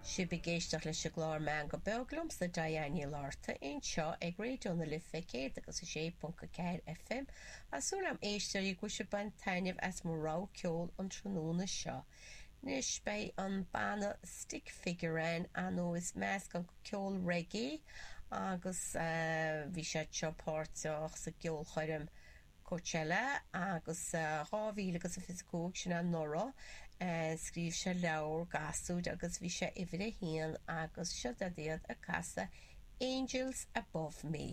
Sibh ag éisteacht leis an gclár Meangadh Beag liomsa, Diane Ní Fhlatharta, anseo ag Raidió na Life 106.4 FM. Tá súil agam, a éisteoirí, go bhfuil sibh ag baint taitneamh as mo rogha ceoil an tráthnóna seo. Anois beidh an banna Stick Figure ann, ar ndóigh is meascán de ceol reggae agus bhí siad seo páirteach sa gceolchoirm Coachella agus 2025, sin anuraidh, scríobh sé leabhar gasúir agus bhí sé uimhir a haon agus seo iad ag casadh Angels Above Me.